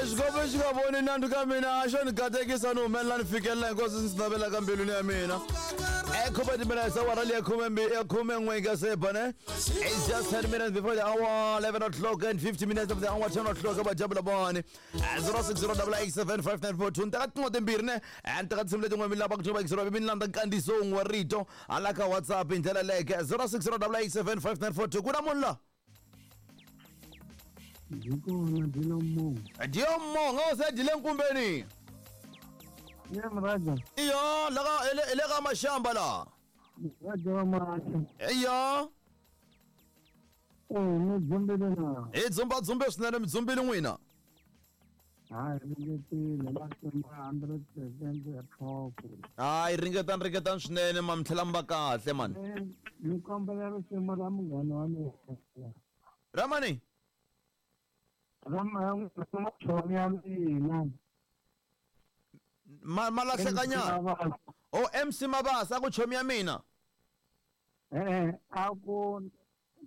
Xikwembu xi nga voni nandzu ka mina, a xo ni katekisa ni humelela ni fikelela hinkwaswo ndzi navelaka mbilwini ya mina. Khume timinetse awara leyi ya khume n'we ka se ba ne. It's just 10 minutes before the hour 11 o'clock and 50 minutes of the hour 10 o'clock va jabula bani. 0608875942 ni teka tin'we timbirhi ne. Ni teka tinsimu letin'we mi lava ku twa va mi landza nkandziyiso wun'we wa rito hala ka WhatsApp hi ndlela leyo 0608875942 ku na munhu la. Byi kona byi lo munhu. Diyo monga o se dile nkumbeni. Ye mraja. Iyo laka ele ele ka mashamba la. Mraja wa macha. Iyo. Eh, mi dzumbile na. Hi dzumba dzumbe swinene mi dzumbile n'wina. Hayi ringetile va sema 100% ya tlhoko. Hayi ringetani ringetani swinene ma mi tlhela mi va kahle mani. Eh, ni kombela risimu ra munghana wa mina. Ramani. Ra machomi ya mina. Ma ma lahlekanyana. O MC Mabasa a ku chomi ya mina. Eh, a ku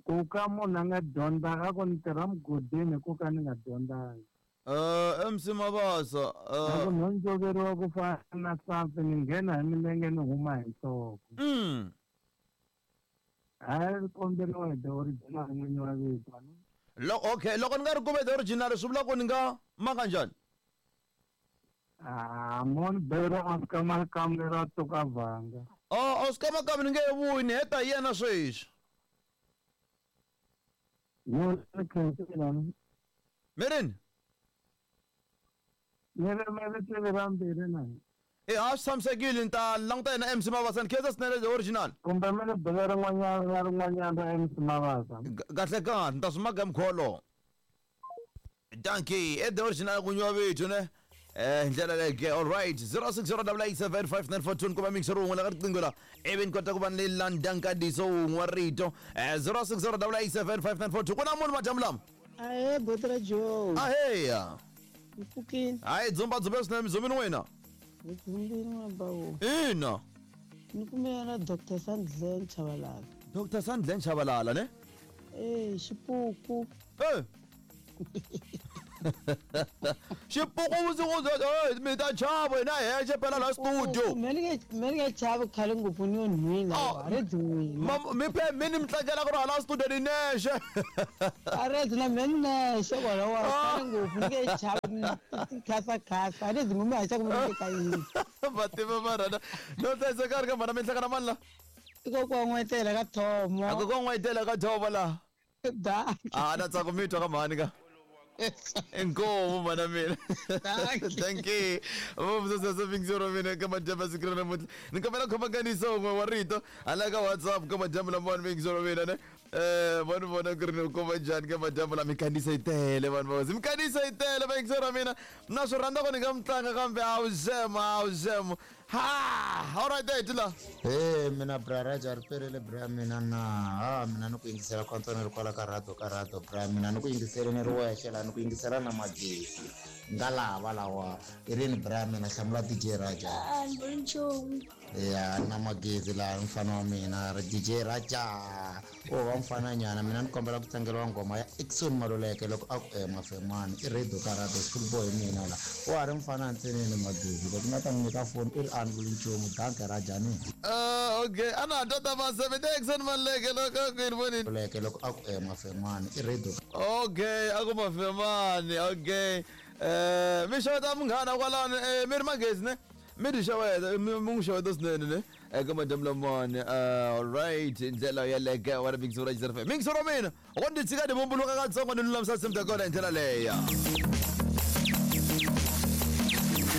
ku ka munhu a nga dyondzanga a ku ni tirha mugodini ku ka ni nga dyondzanga. MC Mabasa. A ku no ndzoveriwa ku fana na safi ni nghena hi milenge ni huma hi nhloko. Hayi komberiwa hi the original n'winyi wa vito. Okay, loko ni nga ri kume the original swi vula ku ni nga maka njhani? Ah, mon bero Oscar Makamu ra tuka vanga. Oh, Oscar Makamu ni nge he vuyi ni heta hi yena sweswi. Yo ni khensile ni. Mi rini? Ni ri mi ri tivi ra mbirhi na. E ha swi tshamisekile ni ta languta yena MC Mabasa ni khensa swinene the original. Kumbe mi ni bela rin'wanyana na rin'wanyana ra MC Mabasa. Kahle kahle ni ta swi maka hi mukhuva wolowo. Dankie, e the original ku nyiwa vito ne. Ndlela leyo ke all right 0608875942 kuma mixer wun'we la ka riqingho la ivi ni kota ku va ni landa nkandziyiso wun'we wa rito 0608875942 ku na munhu madyambu lama. Ahee buti ra Joe. Aheya. Hi pfukile. Hayi dzumba dzumbe swinene mi dzumbini n'wina. Hi dzumbile n'wana bawo. Ina. Ni kume na Dr. Sandlen Chabalala. Dr. Sandlen Chabalala ne? Eh, xipuku. Eh. Xipuku vusiku mi ta chava hina hexe phela la studio. Me ni nge chavi khale ngopfu ni yo nhwina Oh. a ri dyi n'wina. Mi phe mi ni mi tlangela ku ri hala studio ni nexe. A ri dyi na me ni nexe kwala wa khale ngopfu ni nge chavi khasa khasa a ri dyi n'wina haxa ku mi le ka yini. Va tiva va rhana. No hlayiseka ri ka mhana mi hlangana mani la? I kokwa n'wetela ka Thomo. A kokwa n'wetela ka Thomo la. Da. Ah, na tsaka mi twa ka mhani ka. Inkomu mana mina. Thank you. Vumsasa mixero mina ka madyambu siku ra namuntlha. Ni kombela khoma nkandziyiso wun'we wa rito hala ka WhatsApp ka madyambu lamawani mixero mina ne. Vanhu vona ku ri ni kuma njhani ka madyambu lama minkandziyiso yi tele vanhu va hosi. Minkandziyiso yi tele mixero mina. Na swi rhandza ku ni nga mi tlanga kambe a wu xema a wu xema. Ha! All right, hey, la. Hey, mina bra Raja ri perile bra mina na ha mina ni ku yingisela kwantswa ni ri kwala ka radio ka radio bra mina ni ku yingisele ni ri wexe la ni ku yingisela na magezi nga lava lawa i rini bra mina hlamula DJ Raja. A ni vuli nchumu. Ya na magezi laha mfana wa mina ri DJ Raja o va mfana nyana mina ni kombela ku tlangeriwa nghoma ya Exxon Maluleke loko a ku mafemani i radio ka radio school boy mina la wa ha ri mfana ntseneni magezi loko nga ta n'wi nyika foni i ri a ni vuli nchumu danke Raja ni. Okay ana tata va seven Exxon Maluleke loko a ku yini vonini. Maluleke loko a ku mafemani i radio. Okay a ku mafemani okay mi xeweta munghana kwalano mi ri magezi ne. Mi ti xeweta mi n'wi xeweta swinene ne eka madyambu lamawani. Alright ndlela yeleke wa ri mixero ra xizero mixero mina wo ndzi tshika ni vumbuluka katsongo ni lulamisa tinsimu ta kona hi ndlela leyo.